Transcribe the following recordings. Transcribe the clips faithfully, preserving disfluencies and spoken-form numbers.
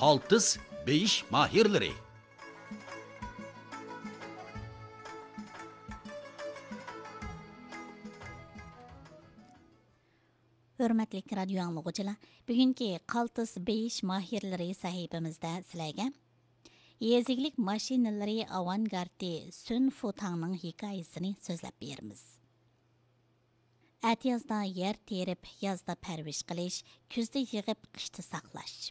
قالتىس بېيىش ماھىرلىرى. ھۆرمەتلىك رادىيو ئاڭلىغۇچىلار، بۈگۈنكى قالتىس بېيىش ماھىرلىرى سەھىپىمىزدە سىلەرگە يېزا ئىگىلىك ماشىنىلىرى ئاۋانگارتى سۈن فۇتاڭنىڭ ھېكايىسىنى سۆزلەپ بېرىمىز. ئەتىيازدا يەر تېرىپ، يازدا پەرۋىش قىلىش، كۈزدە يىغىپ، قىشتا ساقلاش.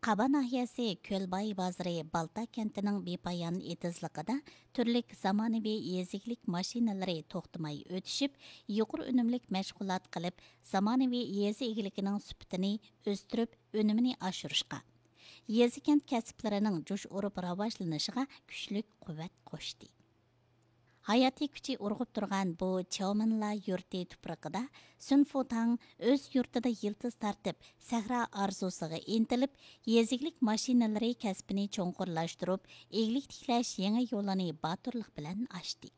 قابا ناھىيەسى كۆلباي بازىرى بالتا كەنتىنىڭ بىپايان ئېتىزلىقىدا تۈرلۈك زامانىۋى يېزا ئىگىلىك ماشىنىلىرى توختىماي ئۆتۈشۈپ، يۇقىرى ئۈنۈملۈك مەشغۇلات قىلىپ، زامانىۋى يېزا ئىگىلىكىنىڭ سۈپىتىنى ئۆستۈرۈپ، ئۈنۈمىنى ئاشۇرۇشقا، يېزا كەنت كەسىپلىرىنىڭ جۇش ئۇرۇپ راۋاجلىنىشىغا كۈچلۈك قۇۋۋەت قوشتى. ھاياتىي كۈچى ئۇرغۇپ تۇرغان بۇ چياۋمىنلا يۇرتى تۇپرىقىدا سۈن فۇتاڭ ئۆز يۇرتىدا يىلتىز تارتىپ، سەھرا ئارزۇسىغا ئىنتىلىپ، يېزا ئىگىلىك ماشىنىلىرى كەسپىنى چوڭقۇرلاشتۇرۇپ، ئىگىلىك تىكلەش يېڭى يولىنى باتۇرلۇق بىلەن ئاچتى.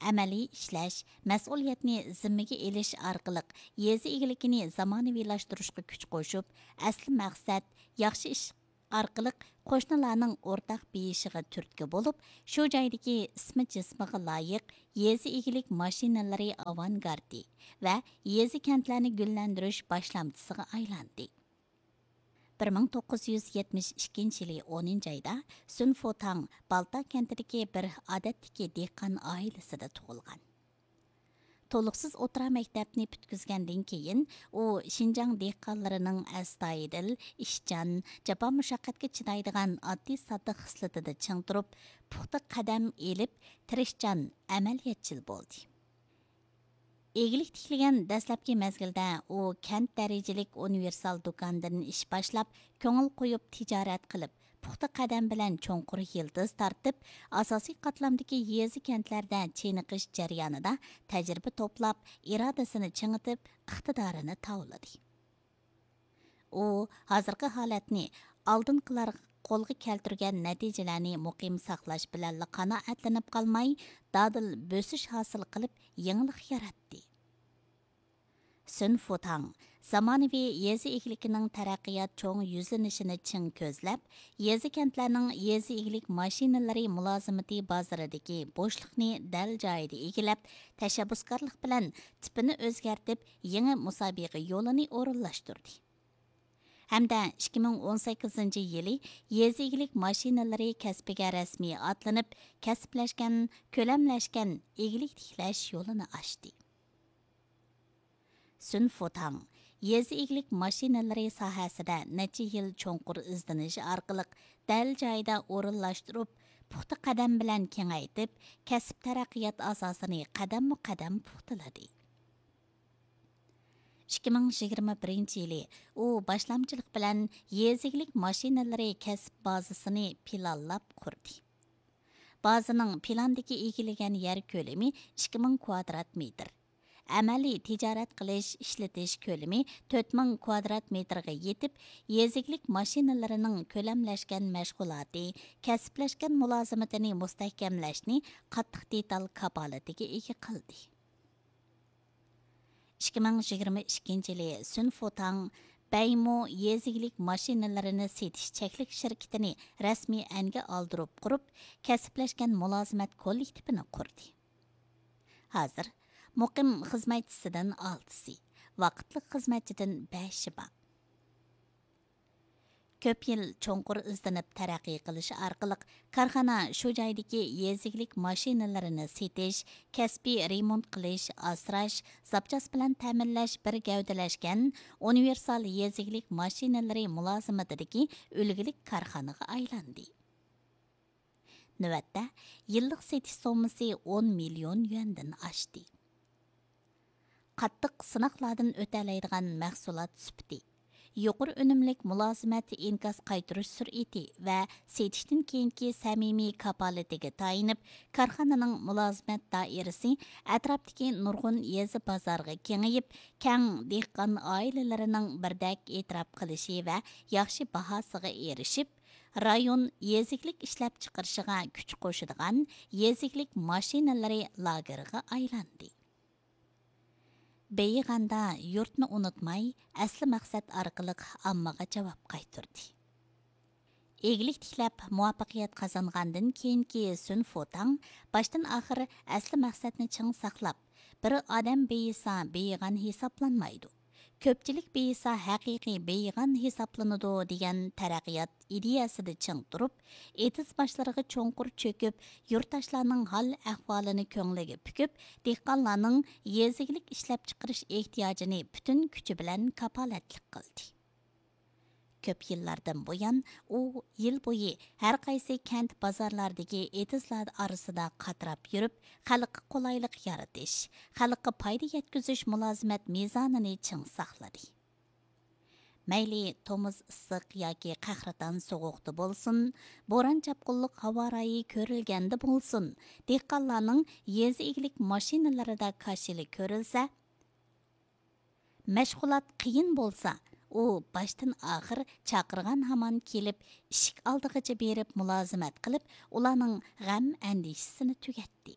ئەمەلىي ئىشلەش، مەسئۇلىيەتنى زىممىگە ئېلىش ئارقىلىق يېزا ئىگىلىكىنى زامانىۋىلاشتۇرۇشقا كۈچ قوشۇپ، ئەسلى مەقسەت ياخشى ئىش ئارقىلىق قوشنىلارنىڭ ئورتاق بېيىشىغا تۈرتكە بولۇپ، شۇ جايدىكى ئىسمى جىسمىغا لايىق يېزا ئىگىلىك ماشىنىلىرى ئاۋانگارتى ۋە يېزا كەنتلەرنى گۈللەندۈرۈش باشلامچىسىغا ئايلاندى. بىر مىڭ توققۇز يۈز يەتمىش ئىككىنچى يىلى ئونىنچى ئايدا سۈن فۇتاڭ بالتا كەنتىدىكى بىر ئادەتتىكى دېھقان ئائىلىسىدە تۇغۇلغان. تولۇقسىز ئوتتۇرا مەكتەپنى پۈتكۈزگەندىن كېيىن، ئۇ شىنجاڭ دېھقانلىرىنىڭ ئەستايىدىل، ئىشچان، جاپا مۇشەققەتكە چىدايدىغان ئاددىي ساددا خىسلىتىدە چىڭ تۇرۇپ، پۇختا قەدەم ئېلىپ، تىرىشچان ئەمەلىيەتچىل بولدى. ئىگىلىك تىكلىگەن دەسلەپكى مەزگىلدە ئۇ كەنت دەرىجىلىك ئۇنىۋېرسال دۇكاندىن ئىش باشلاپ، كۆڭۈل قويۇپ تىجارەت قىلىپ، پۇختا قەدەم بىلەن چوڭقۇر يىلتىز تارتىپ، ئاساسىي قاتلامدىكى يېزا كەنتلەردە چېنىقىش جەريانىدا تەجرىبە توپلاپ، ئىرادىسىنى چىڭىتىپ، ئىقتىدارىنى تاۋلىدى. ئۇ ھازىرقى ھالەتنى ئالدىنقىلار قولغا كەلتۈرگەن نەتىجىلەرنى مۇقىم ساقلاش بىلەنلا قانائەتلىنىپ قالماي، دادىل بۆسۈش ھاسىل قىلىپ، يېڭىلىق ياراتتى. سۈن فۇتاڭ زامانىۋى يېزا ئىگىلىكىنىڭ تەرەققىيات چوڭ يۈزلىنىشىنى چىڭ كۆزلەپ، يېزا كەنتلەرنىڭ يېزا ئىگىلىك ماشىنىلىرى مۇلازىمىتى بازىرىدىكى بوشلۇقنى دەل جايىدا ئىگىلەپ، تەشەببۇسكارلىق بىلەن تىپىنى ئۆزگەرتىپ، يېڭى مۇسابىقە يولىنى ئورۇنلاشتۇردى. ھەمدە ئىككى مىڭ ئون سەككىزىنچى يىلى يېزا ئىگىلىك ماشىنىلىرى كەسپىگە رەسمىي ئاتلىنىپ، كەسىپلەشكەن، كۆلەملەشكەن ئىگىلىك تىكلەش يولىنى ئاچتى. سۈن فۇتاڭ يېزا ئىگىلىك ماشىنىلىرى ساھەسىدە نەچچە يىل چوڭقۇر ئىزدىنىش ئارقىلىق دەل جايىدا ئورۇنلاشتۇرۇپ، پۇختا قەدەم بىلەن كېڭەيتىپ، كەسىپ تەرەققىيات ئاساسىنى قەدەممۇ قەدەم پۇختىلىدى. ئىككى مىڭ يىگىرمە بىرىنچى يىلى ئۇ باشلامچىلىق بىلەن يېزا ئىگىلىك ماشىنىلىرى كەسىپ بازىسىنى پىلانلاپ قۇردى. بازىنىڭ پىلاندىكى ئىگىلىگەن يەر كۆلىمى ئىككى مىڭ كۋادرات مېتىر. ئەمەلىي تىجارەت قىلىش، ئىشلىتىش كۆلىمى تۆت مىڭ كۋادرات مېتىرغا يېتىپ، يېزا ئىگىلىك ماشىنىلىرىنىڭ كۆلەملەشكەن مەشغۇلاتى، كەسىپلەشكەن مۇلازىمىتىنى مۇستەھكەملەشنى قاتتىق دېتال كاپالىتىگە ئىگە قىلدى. ئىككى مىڭ يىگىرمە ئىككىنچى يىلى سۈن فۇتاڭ بەيمو يېزا ئىگىلىك ماشىنىلىرىنى سېتىش چەكلىك شىركىتىنى رەسمىي ئەنگە ئالدۇرۇپ قۇرۇپ، كەسىپلەشكەن مۇلازىمەت كوللېكتىپىنى قۇردى. ھازىر مۇقىم خىزمەتچىسىدىن ئالتىسى، ۋاقىتلىق خىزمەتچىدىن بەشى بار. كۆپ يىل چوڭقۇر ئىزدىنىپ تەرەققىي قىلىش ئارقىلىق، كارخانا شۇ جايدىكى يېزا ئىگىلىك ماشىنىلىرىنى سېتىش، كەسپىي رېمونت قىلىش، ئاسراش، زاپچاس بىلەن تەمىنلەش بىر گەۋدىلەشكەن ئۇنىۋېرسال يېزا ئىگىلىك ماشىنىلىرى مۇلازىمىتىدىكى ئۈلگىلىك كارخانىغا ئايلاندى. نۆۋەتتە يىللىق سېتىش سوممىسى ئون مىليون يۈەندىن ئاشتى. قاتتىق سىناقلاردىن ئۆتەلەيدىغان مەھسۇلات سۈپىتى، يۇقىرى ئۈنۈملۈك مۇلازىمەت ئىنكاس قايتۇرۇش سۈرئىتى ۋە سېتىشتىن كېيىنكى سەمىمىي كاپالىتىگە تايىنىپ، كارخانىنىڭ مۇلازىمەت دائىرىسى ئەتراپتىكى نۇرغۇن يېزا بازارغا كېڭىيىپ، كەڭ دېھقان ئائىلىلىرىنىڭ بىردەك ئېتىراپ قىلىشى ۋە ياخشى باھاسىغا ئېرىشىپ، رايون يېزا ئىگىلىك ئىشلەپچىقىرىشىغا كۈچ قوشىدىغان يېزا ئىگىلىك ماشىنىلىرى لاگېرىغا ئايلاندى. بېيىغاندا يۇرتنى ئۇنتۇماي، ئەسلى مەقسەت ئارقىلىق ئاممىغا جاۋاب قايتۇردى. ئىگىلىك تىكلەپ مۇۋەپپەقىيەت قازانغاندىن كېيىنكى سۈن فۇتاڭ باشتىن ئاخىر ئەسلى مەقسەتنى چىڭ ساقلاپ، بىر ئادەم بېيىسا بېيىغان ھېسابلانمايدۇ، كۆپچىلىك بېيىسا ھەقىقىي بېيىغان ھېسابلىنىدۇ دېگەن تەرەققىيات ئىدىيەسىدە چىڭ تۇرۇپ، ئېتىز باشلىرىغا چوڭقۇر چۆكۈپ، يۇرتداشلارنىڭ ھال ئەھۋالىنى كۆڭلىگە پۈكۈپ، دېھقانلارنىڭ يېزا ئىگىلىك ئىشلەپچىقىرىش ئېھتىياجىنى پۈتۈن كۈچى بىلەن كاپالەتلىك قىلدى. كۆپ يىللاردىن بۇيان ئۇ يىل بويى ھەر قايسى كەنت بازارلاردىكى ئېتىزلار ئارىسىدا قاتراپ يۈرۈپ، خەلققە قولايلىق يارىتىش، خەلققە پايدا يەتكۈزۈش مۇلازىمەت مىزانىنى چىڭ ساقلىدى. مەيلى تومۇز ئىسسىق ياكى قەھرىتان سوغۇقتا بولسۇن، بوران-چاپقۇنلۇق ھاۋا رايى كۆرۈلگەندە بولسۇن، دېھقانلارنىڭ يېزا ئىگىلىك ماشىنىلىرىدا كاشىلا كۆرۈلسە، مەشغۇلات قىيىن بولسا، ئۇ باشتىن ئاخىر چاقىرغان ھامان كېلىپ، ئىشىك ئالدىغىچە بېرىپ مۇلازىمەت قىلىپ، ئۇلارنىڭ غەم-ئەندىشىسىنى تۈگەتتى.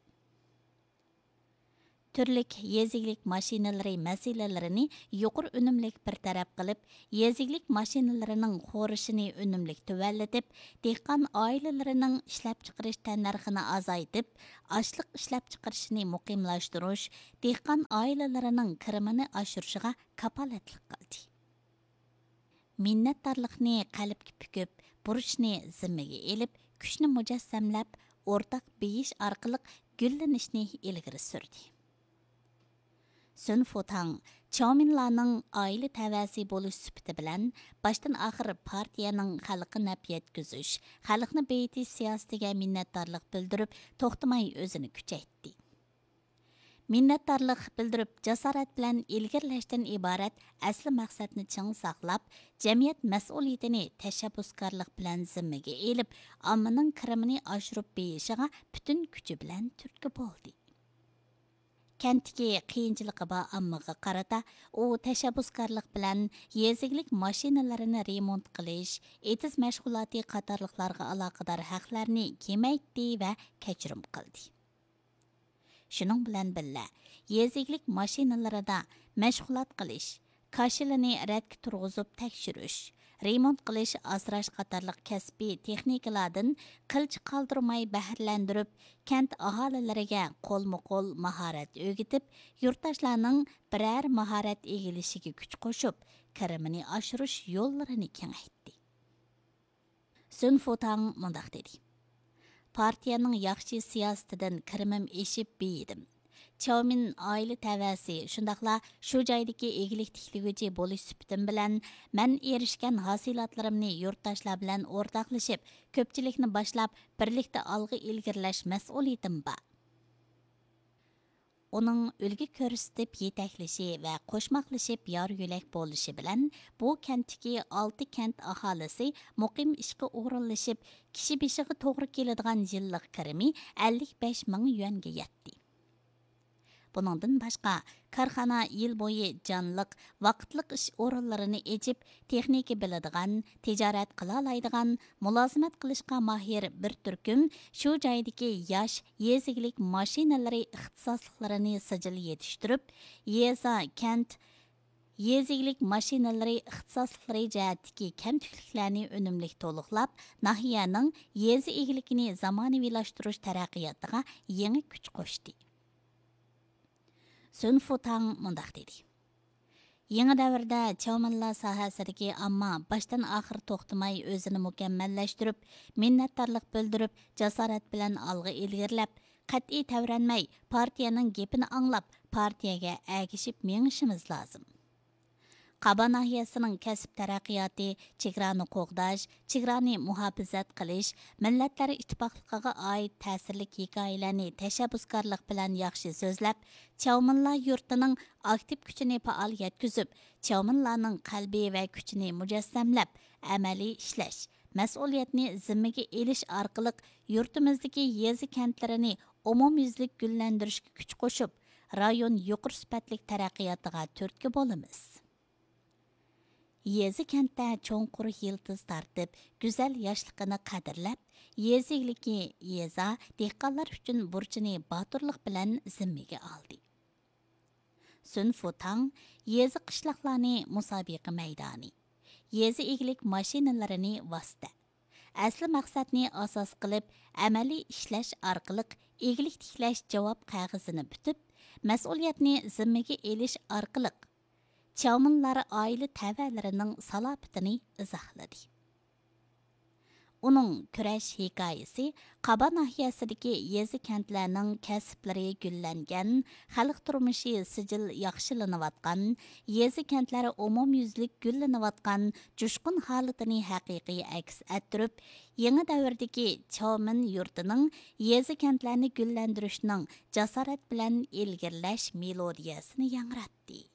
تۈرلۈك يېزا ئىگىلىك ماشىنىلىرى مەسىلىلىرىنى يۇقىرى ئۈنۈملۈك بىر تەرەپ قىلىپ، يېزا ئىگىلىك ماشىنىلىرىنىڭ خورىشىنى ئۈنۈملۈك تۆۋەنلىتىپ، دېھقان ئائىلىلىرىنىڭ ئىشلەپچىقىرىش تەننەرخىنى ئازايتىپ، ئاشلىق ئىشلەپچىقىرىشىنى مۇقىملاشتۇرۇش، دېھقان ئائىلىلىرىنىڭ كىرىمىنى ئاشۇرۇشىغا كاپالەتلىك قىلدى. مىننەتدارلىقنى قەلبكە پۈكۈپ، بۇرچنى زىممىگە ئېلىپ، كۈچنى مۇجەسسەملەپ، ئورتاق بېيىش ئارقىلىق گۈللىنىشنى ئىلگىرى سۈردى. سۈن فۇتاڭ چاۋمىنلارنىڭ ئائىلە تەۋەسى بولۇش سۈپىتى بىلەن باشتىن ئاخىر پارتىيەنىڭ خەلققە نەپ يەتكۈزۈش، خەلقنى بېيىتىش سىياسىتىگە مىننەتدارلىق بىلدۈرۈپ، توختىماي ئۆزىنى كۈچەيتتى. مىننەتدارلىق بىلدۈرۈپ، جاسارەت بىلەن ئىلگىرىلەشتىن ئىبارەت ئەسلى مەقسەتنى چىڭ ساقلاپ، جەمئىيەت مەسئۇلىيىتىنى تەشەببۇسكارلىق بىلەن زىممىگە ئېلىپ، ئاممىنىڭ كىرىمىنى ئاشۇرۇپ بېيىشىغا پۈتۈن كۈچى بىلەن تۈرتكە بولدى. كەنتتىكى قىيىنچىلىقى بار ئاممىغا قارىتا، ئۇ تەشەببۇسكارلىق بىلەن يېزا ئىگىلىك ماشىنىلىرىنى رېمونت قىلىش، ئېتىز مەشغۇلاتى قاتارلىقلارغا ئالاقىدار ھەقلەرنى كېمەيتتى ۋە كەچۈرۈم قىلدى. شۇنىڭ بىلەن بىللە، يېزا ئىگىلىك ماشىنىلىرىدا مەشغۇلات قىلىش، كاشىلىنى رەتكە تۇرغۇزۇپ تەكشۈرۈش، رېمونت قىلىش، ئاسراش قاتارلىق كەسپىي تېخنىكىلاردىن قىلچە قالدۇرماي بەھرىلەندۈرۈپ، كەنت ئاھالىلىرىگە قولمۇ قول ماھارەت ئۆگىتىپ، يۇرتداشلارنىڭ بىرەر ماھارەت ئىگىلىشىگە كۈچ قوشۇپ، كىرىمىنى ئاشۇرۇش يوللىرىنى كېڭەيتتى. سۈن فۇتاڭ مۇنداق دېدى: پارتىيەنىڭ ياخشى سىياسىتىدىن كىرىمىم ئېشىپ بېيىدىم. چياۋمىن ئائىلە تەۋەسى، شۇنداقلا شۇ جايدىكى ئىگىلىك تىكلىگۈچى بولۇش سۈپىتىم بىلەن، مەن ئېرىشكەن ھاسىلاتلىرىمنى يۇرتداشلار بىلەن ئورتاقلىشىپ، كۆپچىلىكنى باشلاپ، بىرلىكتە ئالغا ئىلگىرىلەش مەسئۇلىيىتىم بار. ئۇنىڭ ئۈلگە كۆرسىتىپ يېتەكلىشى ۋە قوشماقلىشىپ يار يۆلەك بولۇشى بىلەن، بۇ كەنتتىكى ئالتە كەنت ئاھالىسى مۇقىم ئىشقا ئورۇنلىشىپ، كىشى بېشىغا توغرا كېلىدىغان يىللىق كىرىمى ئەللىك بەش مىڭ يۈەنگە يەتتى. بۇنىڭدىن باشقا، كارخانا يىل بويى جانلىق، ۋاقىتلىق ئىش ئورۇنلىرىنى ئېچىپ، تېخنىكا بىلىدىغان، تىجارەت قىلالايدىغان، مۇلازىمەت قىلىشقا ماھىر بىر تۈركۈم شۇ جايدىكى ياش يېزا ئىگىلىك ماشىنىلىرى ئىختىساسلىقلىرىنى سىجىل يېتىشتۈرۈپ، يېزا، كەنت يېزا ئىگىلىك ماشىنىلىرى ئىختىساسلىقلىرى جەھەتتىكى كەمتۈكلۈكلەرنى ئۈنۈملۈك تولۇقلاپ، ناھىيەنىڭ يېزا ئىگىلىكىنى زامانىۋىلاشتۇرۇش تەرەققىياتىغا يېڭى كۈچ قوشتى. سۈن فۇتاڭ مۇنداق دېدى: يېڭى دەۋردە چاۋمىنلا ساھەسىدىكى ئامما باشتىن ئاخىر توختىماي ئۆزىنى مۇكەممەللەشتۈرۈپ، مىننەتدارلىق بىلدۈرۈپ، جاسارەت بىلەن ئالغا ئىلگىرىلەپ، قەتئىي تەۋرەنمەي، پارتىيەنىڭ گېپىنى ئاڭلاپ، پارتىيەگە ئەگىشىپ مېڭىشىمىز لازىم. قابا ناھىيەسىنىڭ كەسىپ تەرەققىياتى، چېگرانى قوغداش، چېگرانى مۇھاپىزەت قىلىش، مىللەتلەر ئىتتىپاقلىقىغا ئائىت تەسىرلىك ھېكايىلەرنى تەشەببۇسكارلىق بىلەن ياخشى سۆزلەپ، چياۋمىنلا يۇرتىنىڭ ئاكتىپ كۈچىنى پائال يەتكۈزۈپ، چياۋمىنلانىڭ قەلبى ۋە كۈچىنى مۇجەسسەملەپ، ئەمەلىي ئىشلەش، مەسئۇلىيەتنى زىممىگە ئېلىش ئارقىلىق يۇرتىمىزدىكى يېزا كەنتلىرىنى ئومۇميۈزلۈك گۈللەندۈرۈشكە كۈچ قوشۇپ، رايون يۇقىرى سۈپەتلىك تەرەققىياتىغا تۈرتكە بولىمىز. يېزا كەنتتە چوڭقۇر يىلتىز تارتىپ، گۈزەل ياشلىقىنى قەدىرلەپ، يېزا ئىگىلىكى، يېزا، دېھقانلار ئۈچۈن بۇرچىنى باتۇرلۇق بىلەن زىممىگە ئالدى. سۈن فۇتاڭ، يېزا قىشلاقلارنى مۇسابىقە مەيدانى، يېزا ئىگىلىك ماشىنىلىرىنى ۋاسىتە، ئەسلى مەقسەتنى ئاساس قىلىپ ئەمەلىي ئىشلەش ئارقىلىق ئىگىلىك تىكلەش جاۋاب قەغىزىنى پۈتۈپ، مەسئۇلىيەتنى زىممىگە ئېلىش ئارقىلىق چاۋمىنلار ئائىلە تەۋەلىرىنىڭ سالاپىتىنى ئىزاھلىدى. ئۇنىڭ كۈرەش ھېكايىسى قابا ناھىيەسىدىكى يېزا كەنتلەرنىڭ كەسىپلىرى گۈللەنگەن، خەلق تۇرمۇشى سىجىل ياخشىلىنىۋاتقان، يېزا كەنتلەر ئومۇميۈزلۈك گۈللىنىۋاتقان جۇشقۇن ھالىتىنى ھەقىقىي ئەكس ئەتتۈرۈپ، يېڭى دەۋردىكى چاۋمىن يۇرتىنىڭ يېزا كەنتلەرنى گۈللەندۈرۈشنىڭ جاسارەت بىلەن ئىلگىرىلەش مېلودىيەسىنى ياڭراتتى.